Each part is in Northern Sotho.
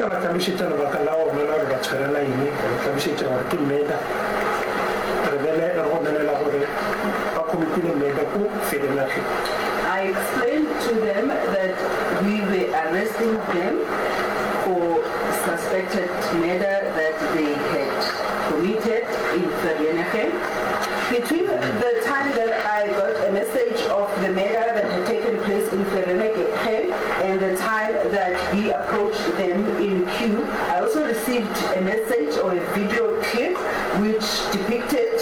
ka ba hlalošetša lebaka la gona la gore ba tshwarela eng, ka ba hlalošetša gore ke murder. Re bele re gomelela gore ba committile murder ko Vereeniging. I explained to them that we were arresting them for suspected murder that they had committed in Vereeniging. Between the time that I got a message of the murder that had taken place in Vereeniging and the time that we approached them in queue, I also received a message or a video clip which depicted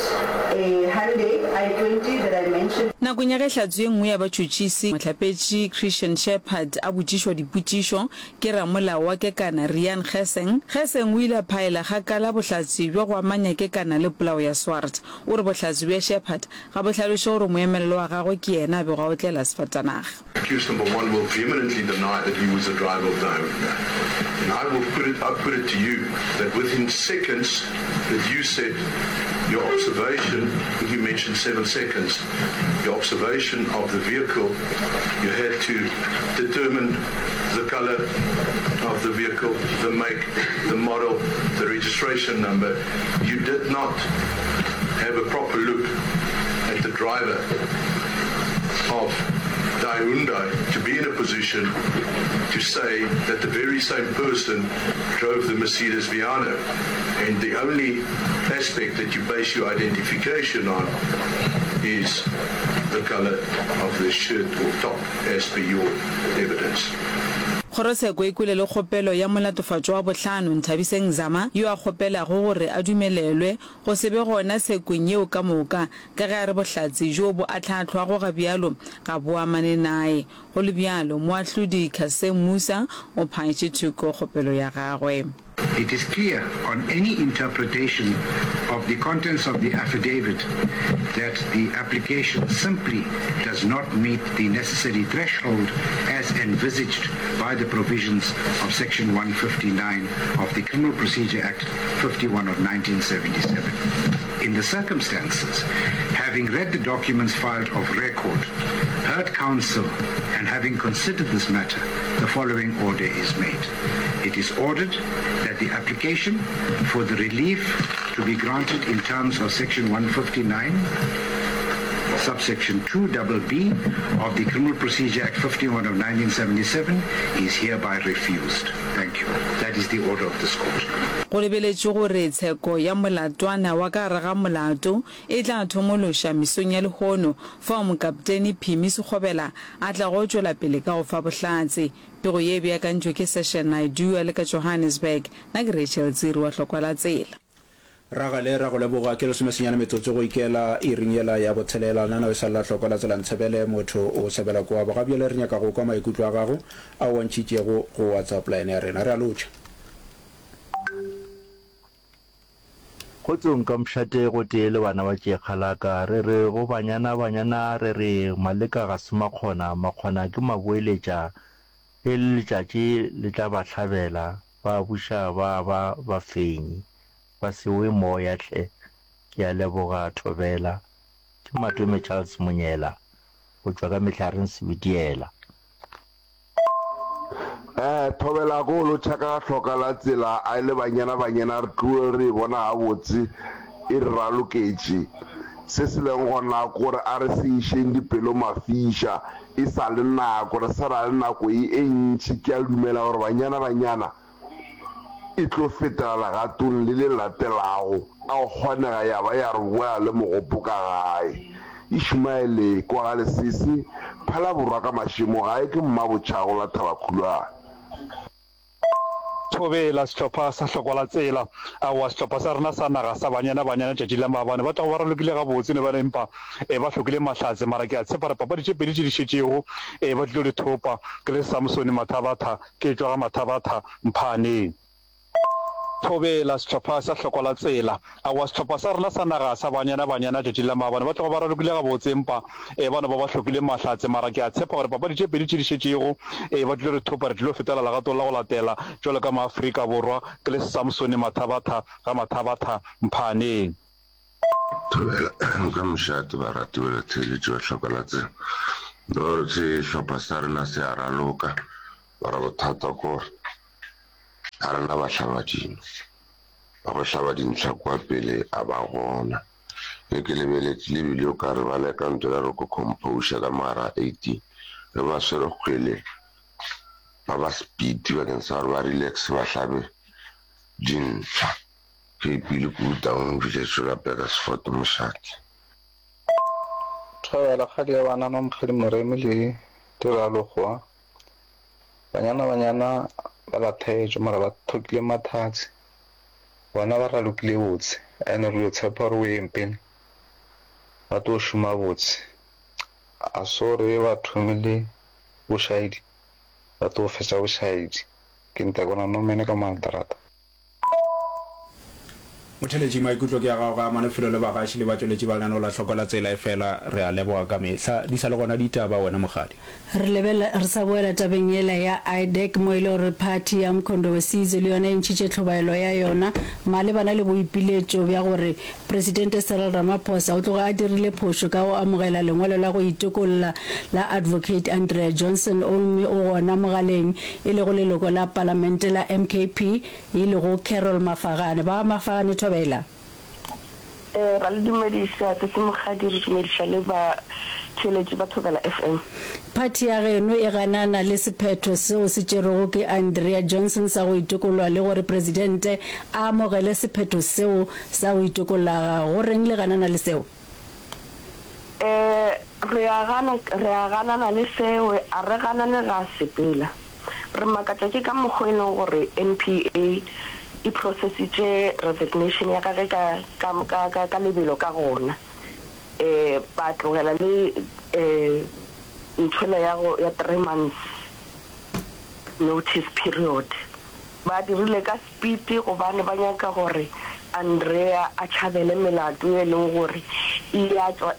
a Hyundai i20 that I mentioned. Nakong ya ge hlatse ye nngwe ya batšhotšhisi, mohlapetši Christian Shepherd a botšišwa dipotšišo ke ramolao wa Kekana Riaan Geseng, Geseng o ile a phaela kgakala bohlatse bja go amanya Kekana le polao ya Swart. O re bohlatse bja Shepherd ga bo hlaloše gore moemelelo wa gagwe ke yena a bego a otlela sefatanaga. Accused number one will vehemently deny that he was the driver of the Hyundai. And I will put it, I put it to you that within seconds that you said your observation, you mentioned 7 seconds, your observation of the vehicle, you had to determine the color of the vehicle, the make, the model, the registration number. You did not have a proper look at the driver of the Hyundai to be in a position to say that the very same person drove the Mercedes Viano. And the only aspect that you base your identification on is the color of the shirt or top as per your evidence. Kgorotsheko e kwele le kgopelo ya molatofatšwa wa bohlano, Nthabiseng Zama, yo a kgopelago gore a dumelelwe go se be gona tshekong yeo ka moka, ka ge a re bohlatse bjo bo ahlaahlwago ga bjalo ga bo amane nae. Go le bjalo, moahlodi Cassem Moosa o phaetše thoko kgopelo ya gagwe. It is clear on any interpretation of the contents of the affidavit that the application simply does not meet the necessary threshold as envisaged by the provisions of section 159 of the Criminal Procedure Act 51 of 1977. In the circumstances, having read the documents filed of record, heard counsel and having considered this matter, the following order is made. It is ordered that the application for the relief to be granted in terms of section 159 subsection 2 double B of the Criminal Procedure Act 51 of 1977 is hereby refused. Thank you. That is the order of this court. Go lebeletšwe gore tsheko ya molatwana wa ka gare ga molato e tla thomološa mesong ya lehono fao Mokaptene Phimi Sekgobela a tlago tšwela pele ka go fa bohlatse. Pego ye e beakantšwe ke Seshan Naidoo a le ka Johannesburg. Nna ke Rachel Tsiri wa Hlokwa la Tsela. Ragale, ra go leboga. Ke lesomesenyane metsotso go ikela iring yela ya botshelela. Lenaneo e sa le la Hlokwa la Tsela Ntshebele, motho o sebela kua. Ga bjale re nyaka go kwa maikutlo a gago ao o a ntšhitšego go WhatsApp line ya rena. Re a lotšha. Kgotsong ka mošate gotee le bana ba tšeekgalaka, re re go banyana banyana re re Maleka ga se makgona, makgona ke maboeletša, ge le letšatši le tla ba hlabela, ba buša ba ba bafenyi, ba se we moya hle, ke a leboga Thobela. Ke Matome Charles Monyela go tšwa ka Mehlareng Sebitiela. Eh, thobela ko lotšha ka hloka la tsela a le banyana banyana re tloe re e bona gabotse e re raloketše. Se se leng gona kore a re se išeng dipelo mafiša e sa le nako, re sa na le nako e e ntši. Ke a dumela gore banyana banyana e tlo fetela legatong le le latelago, a go kgonega ya ba ya re boela le mogopo ka gae. Ishmaele, kwa ga Lesese, Phalaborwa ka mašemo, gae ke Mmabotšhago la Thabakhulwane. Thobela, sehlopha sa Hlokwa la Tsela. Aowa, sehlopha sa rena sa naga sa Banyana Banyana tšatši la maabane ba tloga ba ralokile gabotse ne ba empa ba hlokile mahlatse mara ke a tshepa gore papadi tše pedi tše di šetšego ba tlilo di thopa. Ke le Samsone Mathabatha Ke tšwa ga Mathabatha, Mphaaneng. Thobela, sehlopha sa Hlokwa la Tsela. Aowa, sehlopha sa rena sa naga sa Banyana Banyana tšatšing la maabane ba tloga ba ralokile gabotse empa e ba no ba ba hlokile mahlatse mara ke a tshepa gore papadi tše pedi tše di šetšego e ba tlilo re thopa re tlilo fetela legatong la go latela jwalo ka maAfrika Borwa ke le Samsone Mathabatha ga Mathabatha, Mphaaneng. Thobela ka mošate barati ba batheeletši ba Hlokwa la Tsela. Sehlopha sa rena se a raloka. Mara bothata ke gore. A rena bahlabadino ba go hlaba dintlha kua pele a ba gona. Ge ke lebeletše le bile o ka re ba leka nto ya re ko composure ka mo gare ga 18 ge ba swere kgwele ba ba speed bakeng sa gore ba relax ba hlabe dintlha. Ke ipile kudu Taung Village la Burgersfort Mošate. Thobela kgadi ya bana Mamokgadi Moremi le Tiralokgowa. Banyana banyana ba lathegetšwe mara ba thokile mathatse. Bona ba ralokile botse and re yo tshepa gore o yeng pele ba tlo šoma botse. A so re ba thomile bošaedi ba tlo fetša bošaedi. Ke Ntakona Nomene ka Maldrata. Motheeletši, maikutlo ke a gago ga amane felo le bagaši le batšweletši ba lenaneo la Hloko la Tsela, efela re a leboga ka mehla di sa le gona ditaba wena Mokgadi. Re lebelela, re sa boela tabeng yela ya IDAC mo e le gore phathi ya Mkhonto we Sizwe le yona e ntšhitše tlhobaelo ya yona malebana le boipiletšo bja gore Presidente Cyril Ramaphosa o tloga a dirile phošo ka go amogela lengwalo la go itokolla la Advocate Andrea Johnson omme o gona mogaleng e lego leloko la palamente la MKP e lego Carol Mafagane. Ba Mafagane thobela. Ee, ra le dumediša Sesi Mokgadi, re dumediša le batheeletši ba Thobela FM. Phathi ya geno e ganana le sephetho seo se tšerwego ke Andrea Johnson sa go itokollwa le gore Presidente a amogele sephetho seo sa go itokolla. Go reng le ganana le seo? Ee, re a gana, re a ganana le seo, a re ganane ga sepela. Re makatša ke ka mokgo e leng gore NPA e processitše resignation ya gage ka, ka, ka, ka, ka lebelo ka gona. Um ba tlogela le um nthwela ya go, ya three months notice period. Ba dirile ka speed gobane ba nyaka gore Andrea a tšhabele melato e leng gore e ya tšwa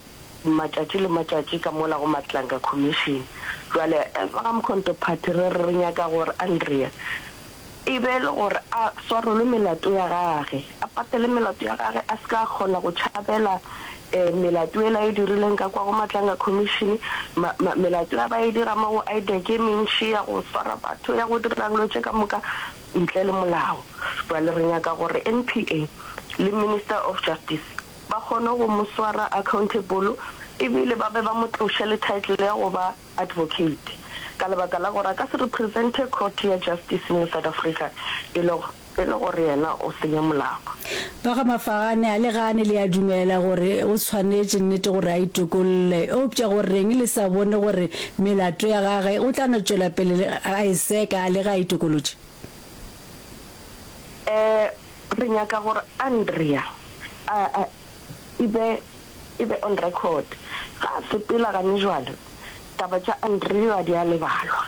matšatši le matšatši ka mola go Madlanga Commission. Bjale as ba ga Mkhonto Party re re re nyaka gore Andrea e be e le gore a swarelwe melato ya gage, a patele melato ya gage, a se ka kgona go tšhabela melato yela e dirileng ka kwa go Madlanga Commission, ma, ma, melato ya ba e dira mo go IDAC e mentši ya go swara batho, ya go dira dilo tše ka moka ntle le molao. Bjale re nyaka gore NPA le Minister of Justice ba kgone go mo swara accountable ebile ba be ba mo tloše le title ya go ba advocate ka lebaka la gore a ka se represente court ya justice mo South Africa e le e le gore yena o senya molao. Ba ga Mafagane a le gane le a dumela gore o tshwanetše nnete gore a itokolle, eupša go reng le sa bone gore melato ya gage o tla no tšwela pele a e seka le ge a itokolotše? Eh, Re nyaka gore Andrea a, a, e be, e be on record. Ga a sepela gane jwale, taba tša Andrea di a lebalwa.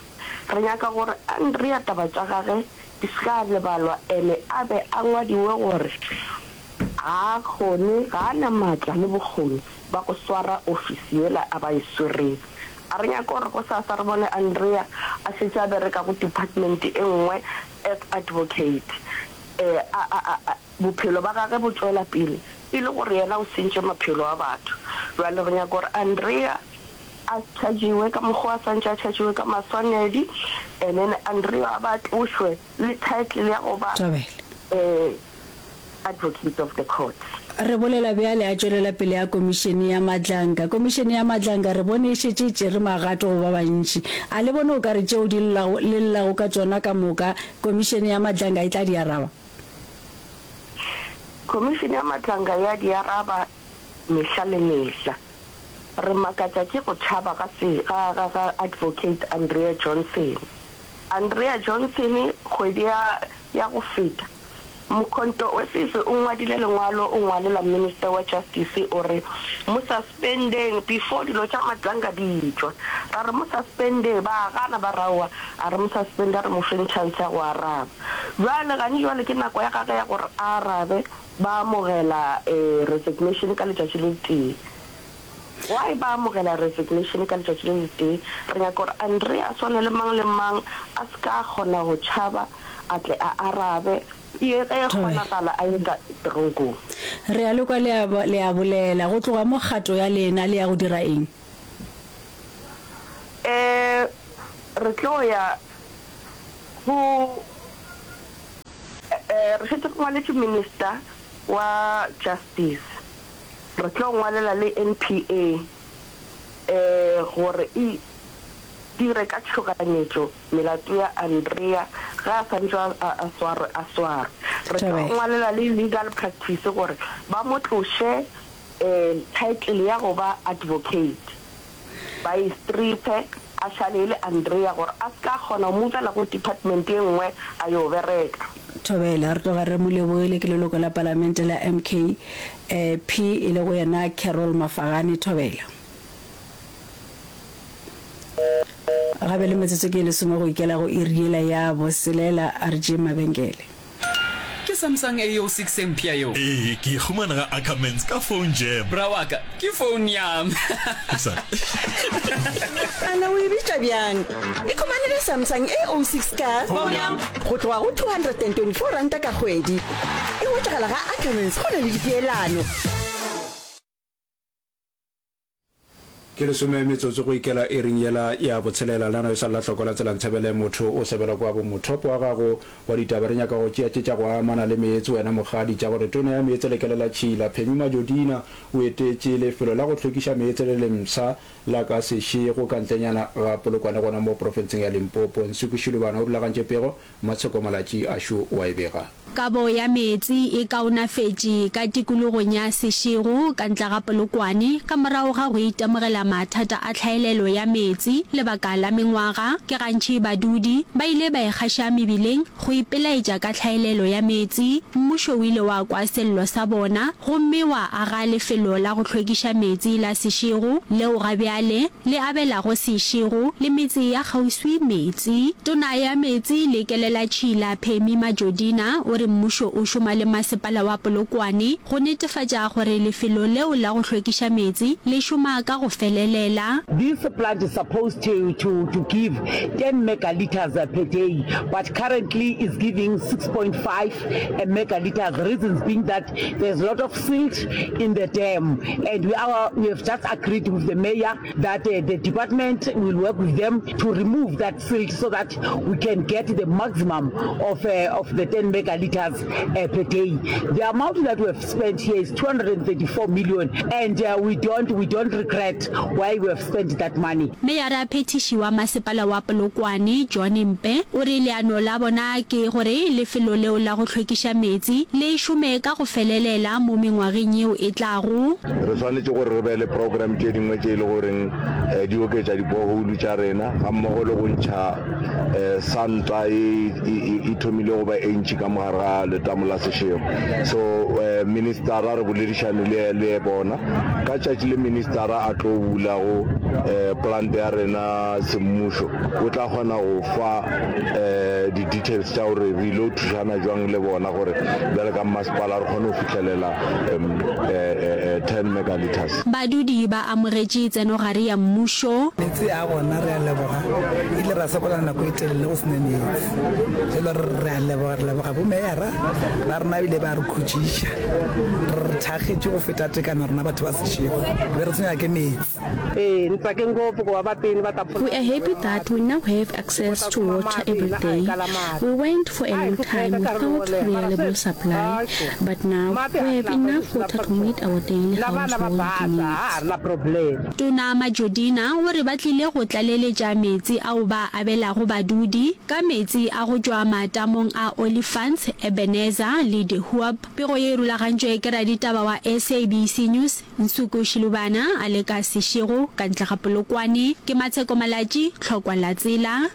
Re nyaka gore Andrea taba tša gage di se ka lebalwa ene a be a ngwadiwe gore ga a kgone, ga a na maatla le bokgoni ba go swara ofisi yela a ba e swereng. A re nyake gore gosasa re bone Andrea a šetše a bereka go department e nngwe as advocate. A, a, a, a, bophelo ba gagwe bo tšwela pele e le gore yena o sentše maphelo a batho. Bjale re nyaka gore Andrea a chargiwe ka mokgwa a swantše a chargiwe ka maswanedi, and then Andrea a ba tlošwe le title ya go ba Thabela. eh, advocate of the court. Re bolela bjale a tšwelela pele ya Komišene ya Madlanga. Komišene ya Madlanga re bone e šetše e tšere magato go ba bantši. A le bone o ka re tšeo di llago, le llago ka tšona ka moka, Komišene ya Madlanga e tla di araba? Komišene ya Madlanga ya di araba mehla le mehla. Re makatša ke go tšhaba ga se, ga, ga, ga Advocate Andrea Johnson. Andrea Johnson kgwedi ya, ya go feta, Mkhonto we Sizwe o ngwadile lengwalo o ngwalela Minister wa Justice o re mo suspendeng before dilo tša Madlanga di tšwa. Ra re mo suspende ba gana ba re aowa a re mo suspende a re mo feng chance ya go araba. Bjale gane jwale ke nako ya gage ya gore a arabe ba amogela resignation ka letšatši le tee. Why ba amogela resignation ka letšatši le letee? Re nyaka gore Andrea a swane le mang le mang, a se ka kgona go tšhaba, a tle a arabe, ye ge e kgonagala a ye ka teronkong. Re a le kwa le a, le a bolela. Go tloga mo kgato ya lena le ya go dira eng? Eh, re tlo ya go. Re šetše re ngwaletše Minister wa Justice, re tlo ngwalela le NPA gore e dire ka tšhoganyetšo melato ya Andrea ge a santše a swarwe a swarwe. Re tlo ngwalela le Legal Practice gore ba mo tloše title ya go ba advocate, ba e stripe a šale e le Andrea gore a se ka kgona go movela go department ye nngwe a yo bereka. Thobela, re tloga re mo lebogile ke leloko la palamente la MKP e lego yena Carol Mafagane. Thobela. Gabe le metsotso ke e lesome go ikela go iri yela ya boselela, a re tšeeng mabenkele. Ke Samsung A06 e mpsha yeo. Ee, ke e humana ga Ackermans ka phone jam. Bra wa ka, ke phone ya me. Ana o e bitša bjang? Ikhumanele Samsung A06 ka go tloga go R224 ka kgwedi. E hwetšagala ga Ackermans go na le dipeelano. Ke lesome metsotso go ikela iring yela ya botshelela. Lenaneo e sa lela hloko la tsela Ntshebele motho o sebela kwa bo mothopo wa gago wa ditaba. Re nyaka go tšea tše tša go amana le meetse wena mokgadi tša gore tona ya meetse le kelela tšhila Phemi Majodina o etetše lefelo la go hlwekiša meetse le lempsha la ka Seshego ka ntlenyana ga Polokwane gona mo profenseng ya Limpopo. Nsuku Shilubana o rulagantše pego Matsheko Malatši a šo o a e bega. Kabo ya meetse e kaonafetše ka tikologong ya Seshego ka ntla ga Polokwane ka morago ga go itemogela mathata a tlhaelelo ya meetse lebaka la mengwaga. Ke gantši badudi ba ile ba ikgaša mebileng go ipelaetša ka tlhaelelo ya meetse. Mmušo o ile wa kwa sello sa bona gomme wa aga lefelo la go hlwekiša meetse la Seshego leo ga bjale le abelago Seshego le metse ya kgauswi meetse. Tona ya Meetse le Kelelatšhila Phemi Majodina o re mmušo o šoma le masepala wa Polokwane go netefatša gore lefelo leo la go hlwekiša meetse le šoma ka go felelela. This plant is supposed to to to give 10 megalitres per day but currently is giving 6.5 megalitres, reasons being that there's a lot of silt in the dam and we are we have just agreed with the mayor that uh, the department will work with them to remove that silt so that we can get the maximum of, uh, of the 10 megaliters uh, per day. The amount that we have spent here is 234 million and uh, we don't we don't regret why we have spent that money. Meyara phethiši wa masepala wa Polokwane, John Mpe, o re leano la bona ke gore lefelo leo la go hlwekiša meetse le šome ka go felelela mo mengwageng yeo e tlago. Re swanetše gore re be le program tše dingwe tše e le goreng di oketša di-borehole tša rena gammogo le go ntšha santa e e thomile go ba e ntši ka mogare ga letamo la Seshego. So ministara re boledišane le le bona ka tšatši le ministara a tlo bulago plant ya rena semmušo o tla kgona go fa di-details tša gore re ile go thušana jwang le bona gore bjale ka mmasepala re kgone go fihlelela 10 megalitres. Badudi ba amogetše tsenogare ya mmušo. Meetse a gona re a leboga, ile ra sokola nako e telele go sena meetse. Jalo re re a leboga, re leboga bo meyara ba rena ebile ba re khutšiša. Re re thakgetše go feta tekano rena batho ba Seshego, be re tshwenywa ke meetse. Ee, ni tsake ngopfu ku va vapini va ta We are happy that we now have access to water every day. We went for a long time without reliable supply, but now we have enough water to meet our daily household needs. Tona Majodina o re ba tlile go tlaleletša meetse ao ba a abelago badudi ka meetse a go tšwa matamong a Olifants, Ebenezer le De Hoop. Pego ye e rulagantšwe ke raditaba wa SABC News, Nsuku Shilubana a le ka Seshego ka ntle ga Polokwane. Ke Matsheko Malatji, Tlhokwa la Tsela.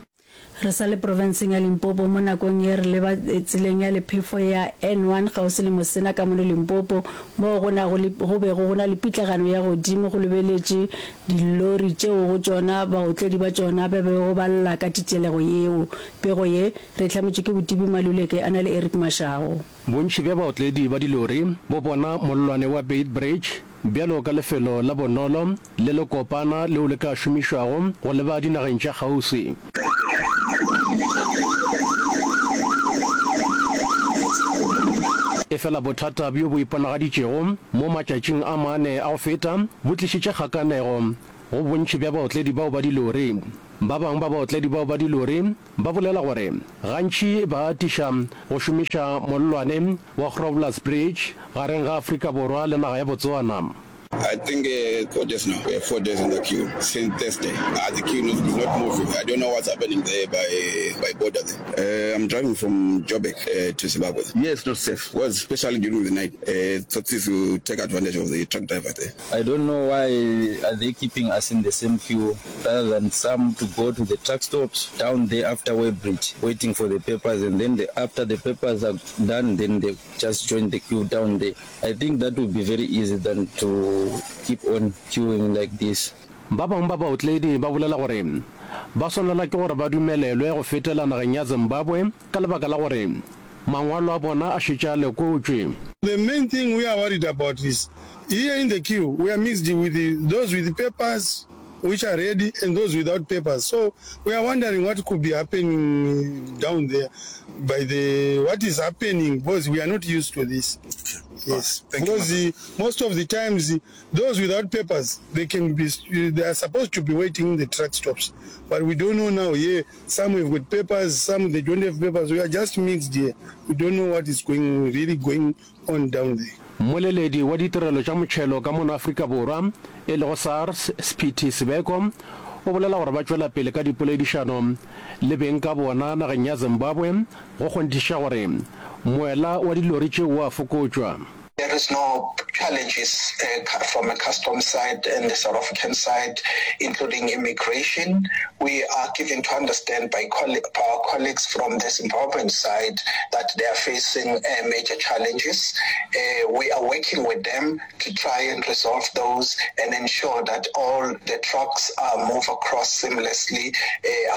Re sa le profenseng ya Limpopo mo nakong ye re leba tseleng ya lephefo ya N1 kgauswi le Mosena ka mono Limpopo moo go nago le go bego go na le pitlagano ya godimo go lebeletše dilori tšeo go tšona baotledi ba tšona ba bego ba lla ka titelego yeo. Pego ye re e hlametšwe ke Botibi Maluleke a na le Eric Mashago. Bontši bja baotledi ba dilori bo bona mollwane wa Beitbridge bjalo ka lefelo la bonolo le le kopana leo le ka šomišwago go leba dinageng tša kgauswi. Efela bothata bjo bo iponagaditšego mo matšatšing a mane a go feta bo tlišitše kgakanego go bontši bja baotledi bao ba dilori. Ba bangwe ba baotledi bao ba dilori ba bolela gore gantši ba atiša go šomiša mollwane wa Grobler's Bridge gareng ga Afrika Borwa le naga ya Botswana. I think 4 days now, we are 4 days in the queue since Thursday. Ah, the queue is not moving. I don't know what's happening there by, by border there. Uh, I'm driving from Joburg uh, to Zimbabwe. Yes, not safe. Well, especially during the night. Uh, Tsotsis will take advantage of the truck driver there. I don't know why are they keeping us in the same queue rather than some to go to the truck stops down there after Weybridge waiting for the papers and then the, after the papers are done then they just join the queue down there. I think that would be very easy than to keep on queuing like this. Ba bangwe ba baotledi ba bolela gore ba swanelwa ke gore ba dumelelwe go fetela nageng ya Zimbabwe ka lebaka la gore mangwalo a bona a šetše a lekotšwe. The main thing we are worried about is here in the queue we are mixed with those with papers which are ready and those without papers so we are wondering what could be happening down there by the what is happening because we are not used to this yes because the, most of the times those without papers they can be they are supposed to be waiting in the truck stops but we don't know now here some have got papers some they don't have papers we are just mixed here we don't know what is going really going on down there Mmoleledi wa ditirelo tša motšhelo ka mono Afrika Borwa, e lego SARS, Sphithi Sibeko, o bolela gore ba tšwela pele ka dipoledišano le beng ka bona nageng ya Zimbabwe go kgonthiša gore moela wa dilori tšeo o a fokotšwa. There is no challenges from a customs side and the South African side including immigration. We are given to understand by our colleagues from the Zimbabwean side that they are facing major challenges. We are working with them to try and resolve those and ensure that all the trucks are move across seamlessly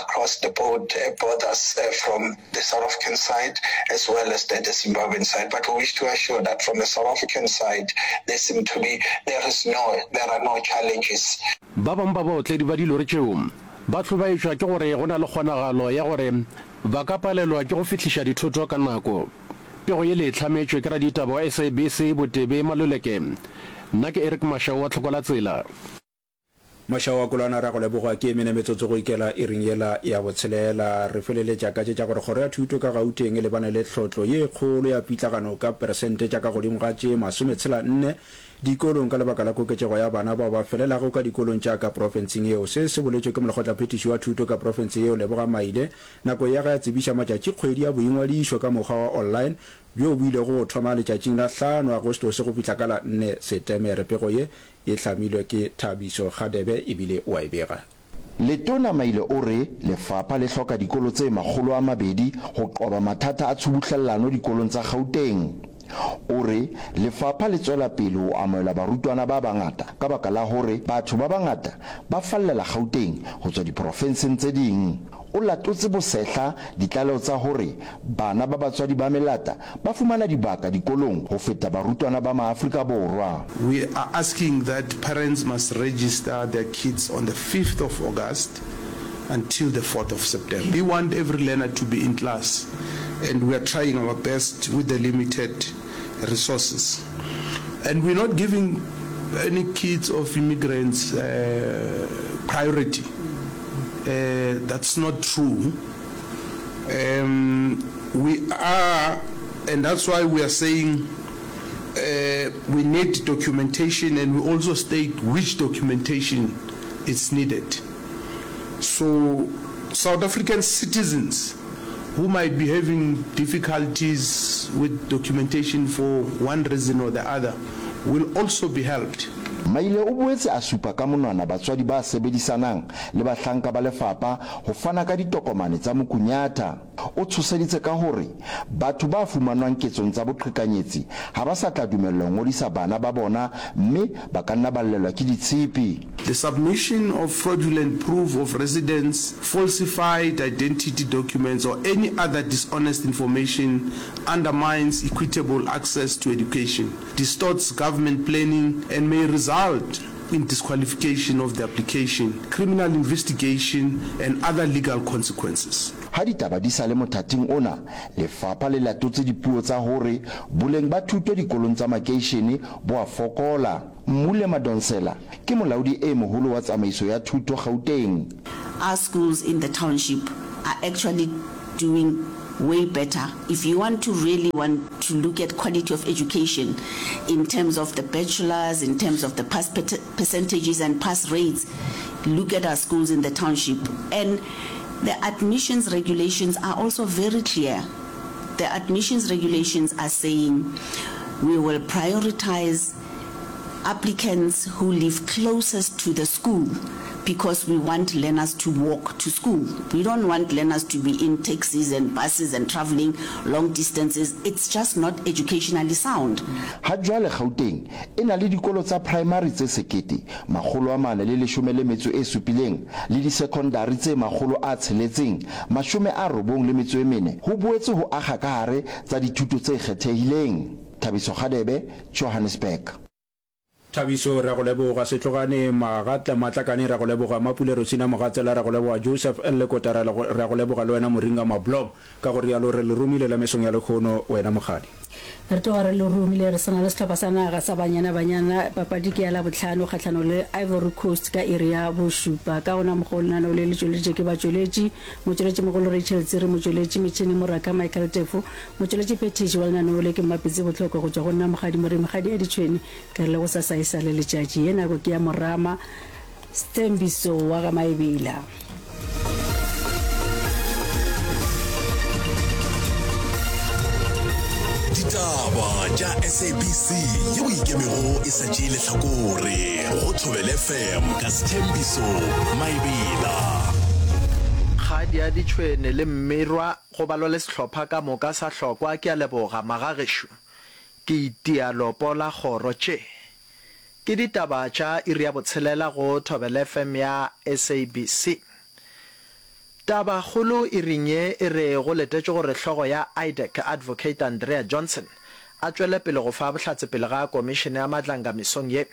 across the borders from the South African side as well as the, the Zimbabwean side. But we wish to assure that from the South African side, there seem to be, there is no, there are no challenges. Ba bangwe ba baotledi ba dilori tšeo ba hlobaetšwa ke gore go na le kgonagalo ya gore ba ka palelwa ke go fihliša dithoto ka nako. Pego ye le e hlametšwe ke raditaba wa SABC Botebe Maluleke. Nna ke Eric Mashau wa Tlhokolatsela. Mošaa wa Kolwana ra go leboga ke mene metsotso go ikela iring yela ya botshelela. Re feleletša ka tše tša gore Kgoro ya Thuto ka Gauteng e lebane le tlhotlo ye kgolo ya pitlagano ka peresente tša ka godimo ga tše masometshela-nne dikolong ka lebaka la koketšego ya bana bao ba felelago ka dikolong tša ka profenseng yeo. Se se boletšwe ke Molekgotlaphethiši wa Thuto ka profense yeo Leboga Maile nako ya ge a tsebiša matšatšikgwedi a boingwadišo ka mokgwa wa online bjo bo ilego go thoma letšatšing la hlano Agostose go fihla ka la nne Setemere. Pego ye E hlamilwe ke Thabiso Gadebe ebile o a e bega. Letona Maile o re lefapha le hloka dikolo tse 200 go qoba mathata a tshubuhlellano dikolong tsa Gauteng. O re lefapha le tswela pele ho amohela barutwana ba bangata ka baka la hore batho ba bangata ba fallela Gauteng ho tswa diporofenseng tse ding. O latotse bosehla ditlaleho tsa hore bana ba batswadi ba melata ba fumana dibaka dikolong ho feta barutwana ba Maafrika Borwa. We are asking that parents must register their kids on the fifth of August until the fourth of September. We want every learner to be in class and we are trying our best with the limited resources. And we're not giving any kids of immigrants priority. That's not true. Um, we are, and that's why we are saying uh, we need documentation and we also state which documentation is needed. So South African citizens who might be having difficulties with documentation for one reason or the other will also be helped. Maile o boetse a supa ka monwana batswadi ba sebedisanang le bahlanka ba lefapha ho fana ka ditokomane tsa mokunyatha. O tshoseditse ka hore batho ba fumanwang ketsong tsa boqhekanyetsi ha ba sa tla dumellwa ho ngodisa bana ba bona mme ba ka nna ba llelwa ke ditshipi. The submission of fraudulent proof of residence, falsified identity documents or any other dishonest information undermines equitable access to education, distorts government planning and may result in disqualification of the application, criminal investigation and other legal consequences. Ha ditaba di sa le mothating ona, lefapha le latotse dipuo tsa hore boleng ba thuto dikolong tsa makeishene bo a fokola. Mmule Madonsela ke molaodi e moholo wa tsamaiso ya thuto Gauteng. Our schools in the township are actually doing way better. If you want to really want to look at quality of education in terms of the bachelors, in terms of the pass percentages and pass rates, look at our schools in the township. And the admissions regulations are also very clear. The admissions regulations are saying we will prioritize applicants who live closest to the school because we want learners to walk to school. We don't want learners to be in taxis and buses and traveling long distances. It's just not educationally sound. Ha jwale Gauteng e na le dikolo tsa praemari tse 1417 le disekondari tse 694. Ho boetse ho akga ka hare tsa dithuto tse kgethehileng. Thabiso Kgadebe, Johannesburg. Thabiso, Re a go leboga. Setlogane, Magatla, Matlakane, re a go leboga. Mapule Rosina Mogatsela, re a go leboga. Joseph L. Lekota, re a re a go leboga le wena Moringa Mablom. Ka go realo re le romile la mesong ya lehono, wena Mokgadi. Re tloga re le romile re sa na le sehlopha sa naga sa Banyana Banyana. Papadi ke ya Labohlano kgahlanong le Ivory Coast ka iri ya bošupa. Ka gona mokgwa o lenaneo le le tšweleditše ke batšweletši, motšweletšimogolo Rachel Tsiri, motšweletši metšhene Moraka Michael Tefo, Motšweletši phethiši wa lenaneo le ke Mmapitsi Bohlokwa go tšwa go nna Mokgadi Moremi Kgadi ya Ditšhwene ke re le gosasa e sa le letšatši. Ye nako ke ya Morama Sthembiso wa ga Maebela. Ditaba tša SABC yeo e ikemego e sa tšee lehlakore go Thobela FM ka Sthembiso Maebela. Kgadi ya Ditšhwene le Mmirwa Go balwa le sehlopha ka moka sa hlokwa ke a leboga magagešo. Ke itia lopo la kgoro tše. Ke ditaba tša iri ya botshelela go Thobela FM ya SABC. Taba kgolo iring ye e re go letetšwe gore hlogo ya IDAC Advocate Andrea Johnson a tšwele pele go fa bohlatse pele ga komišene ya Madlanga mesong ye.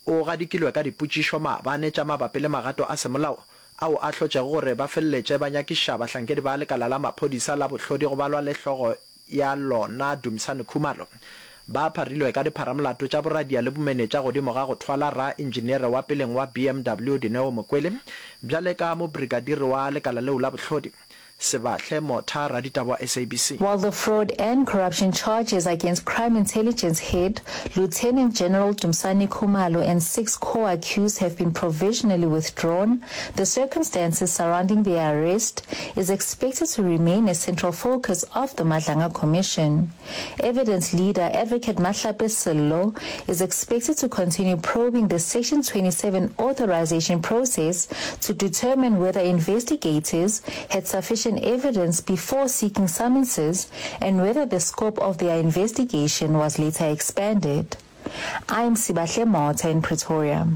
O gadikilwe ka dipotšišo maabane tša mabapi le magato a semolao ao a hlotšego gore ba feleletše ba nyakiša bahlankedi ba lekala la maphodisa la bohlodi go balwa le hlogo ya lona Dumisani Khumalo. Ba pharilwe ka dipharamolato tša boradia le bomenetša godimo ga go thwala ra-injiniere wa peleng wa BMW Dineo Mokwele bjale ka mobrikadiri wa lekala leo la bohlodi. Sebahle Motha, raditaba wa SABC. While the fraud and corruption charges against crime intelligence head, Lieutenant General Dumisani Khumalo and six co-accused have been provisionally withdrawn, the circumstances surrounding their arrest is expected to remain a central focus of the Madlanga Commission. Evidence leader Advocate Mahlape Sello is expected to continue probing the Section 27 authorization process to determine whether investigators had sufficient evidence before seeking summonses and whether the scope of their investigation was later expanded. I'm Sibahle Motha in Pretoria.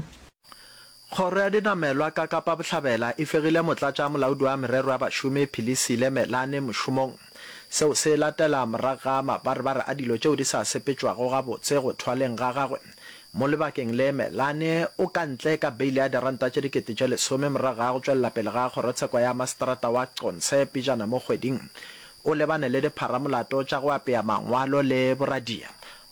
Kgoro ya Dinamelwa ka Kapa Bohlabela e fegile Motlatšamolaodi wa Merero ya Bašomi Philisile Melane mošomong. Seo se latela morago ga mabarebare a dilo tšeo di sa sepetšwago gabotse go thwaleng ga gagwe. Mo lebakeng le Melane o ka ntle ka beile ya diranta tše 10,000 morago ga go tšwelela pele ga kgorotsheko ya maseterata wa Qonce pejana mo kgweding. O lebane le dipharamolato tša go apea mangwalo le boradia.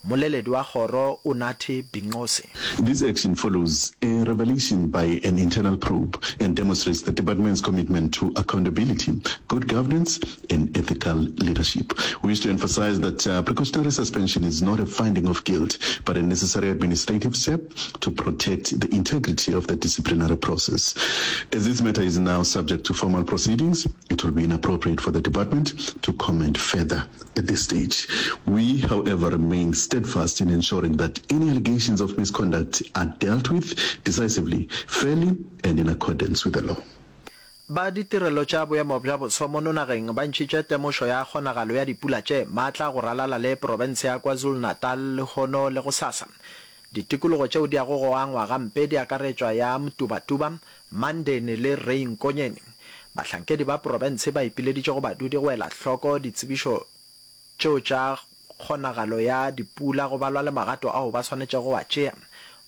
Moleledi wa kgoro Unathi Binqose. This action follows a revelation by an internal probe and demonstrates the department's commitment to accountability, good governance and ethical leadership. We wish to emphasize that uh, precautionary suspension is not a finding of guilt, but a necessary administrative step to protect the integrity of the disciplinary process. As this matter is now subject to formal proceedings, it will be inappropriate for the department to comment further at this stage. We, however, remain steadfast in ensuring that any allegations of misconduct are dealt with decisively, fairly and in accordance with the law. Ba ditirelo tša boemo bja boso mono nageng ba ntšhitše temošo ya kgonagalo ya dipula tše maatla go ralala le profense ya KwaZulu-Natal lehono le gosasa. Ditikologo tšeo di yago go angwa gampe di akaretšwa ya Mtubatuba, Mandeni le Ray Nkonyeni. Bahlankedi ba profense ba ipileditše go badudi go ela hloko ditsebišo tšeo tša kgonagalo ya dipula go balwa le magato ao ba swanetšego go a tšea.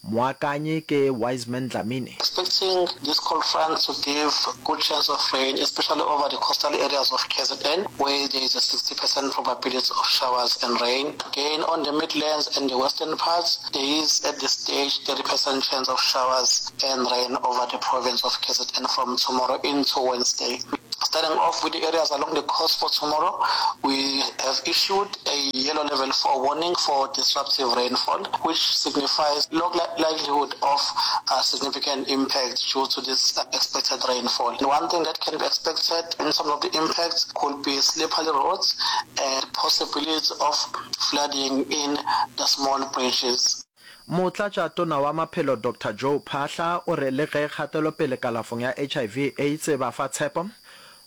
Moakanyi ke Wiseman Dlamini. Expecting this cold front to give good chance of rain, especially over the coastal areas of KZN, where there is a 60% probability of showers and rain. Again, on the Midlands and the western parts, there is at this stage 30% chance of showers and rain over the province of KZN from tomorrow into Wednesday. Starting off with the areas along the coast for tomorrow, we have issued a yellow level 4 warning for disruptive rainfall, which signifies low likelihood of uh, significant impact due to this expected rainfall. And one thing that can be expected in some of the impacts could be slippery roads and possibility of flooding in the small bridges. Motlatšatona wa Maphelo Doctor Joe Phaahla o re le ge kgatelopele kalafong ya HIV Aids e ba fa tshepo,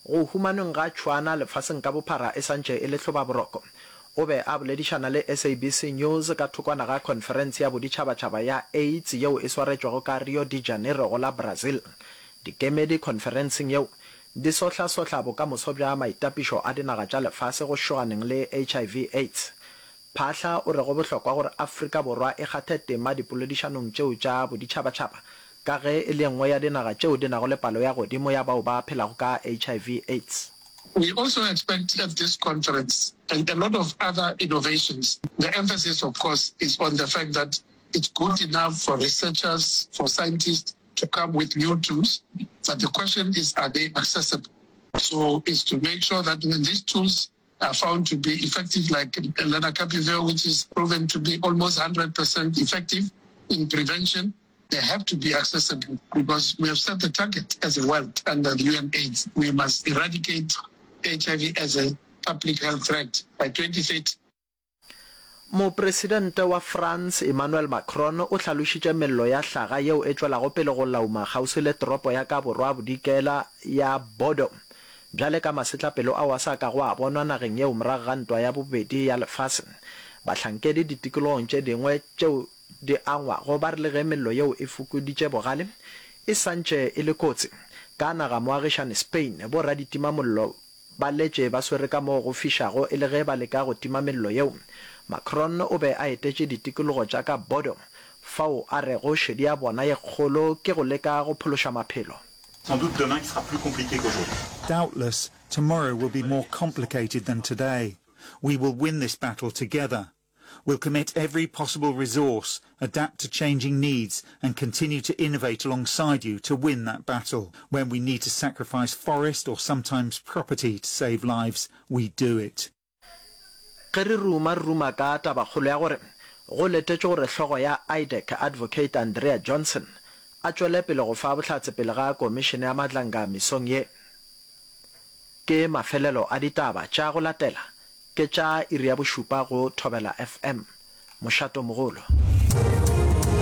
go humanweng ga tšhwaana lefaseng ka bophara e santše e le hlobaboroko. O be a boledišana le SABC News ka thokwana ga khonferense ya boditšhabatšhaba ya Aids yeo e swaretšwego ka Rio de Janeiro go la Brazil. Dikemedi khonferenseng yeo di sohlasohla bokamoso bja maitapišo a dinaga tša lefase go šoganeng le HIV Aids. Phaahla o re go bohlokwa gore Afrika Borwa e kgathe tema dipoledišanong tšeo tša boditšhabatšhaba ka ge e le ye nngwe ya dinaga tšeo di nago le palo ya godimo ya bao ba phelago ka HIV Aids. We also expect at this conference and a lot of other innovations. The emphasis of course is on the fact that it's good enough for researchers, for scientists to come with new tools, but the question is are they accessible? So it's to make sure that when these tools are found to be effective like lenacapavir, which is proven to be almost 100% effective in prevention, they have to be accessible because we have set the target as a world under the UNAIDS. We must eradicate HIV as a public health threat by 2030. Mopresidente wa France Emmanuel Macron o hlalošitše mello ya hlaga yeo e tšwelago pele go lauma kgauswi le toropo ya ka borwa-bodikela ya Bordeaux bjale ka masetlapelo ao a sa kago a bonwa nageng yeo morago ga Ntwa ya Bobedi ya Lefase. Bahlankedi ditikologong tše dingwe tšeo di angwago ba re le ge mello yeo e fokoditše bogale, e sa ntše e le kotsi. Ka nagamoagišane Spain, bo-raditimamollo Ba letše ba swere ka moo go fišago e le ge ba leka go tima mello yeo. Macron o be a etetše ditikologo tša ka Bordeaux, fao a rego šedi ya bona ye kgolo ke go leka go phološa maphelo. Sans doute demain qui sera plus compliqué qu'aujourd'hui. Doubtless, tomorrow will be more complicated than today. We will win this battle together. We'll commit every possible resource, adapt to changing needs and continue to innovate alongside you to win that battle. When we need to sacrifice forest or sometimes property to save lives, we do it. Ge re ruma, re ruma ka tabakgolo ya gore go letetšwe gore hlogo ya IDAC, Advocate Andrea Johnson, a tšwele pele go fa bohlatse pele ga Komišene ya Madlanga mesong ye. Ke mafelelo a ditaba tša go latela Ke tša iri ya bošupa go Thobela FM. Mošato mogolo.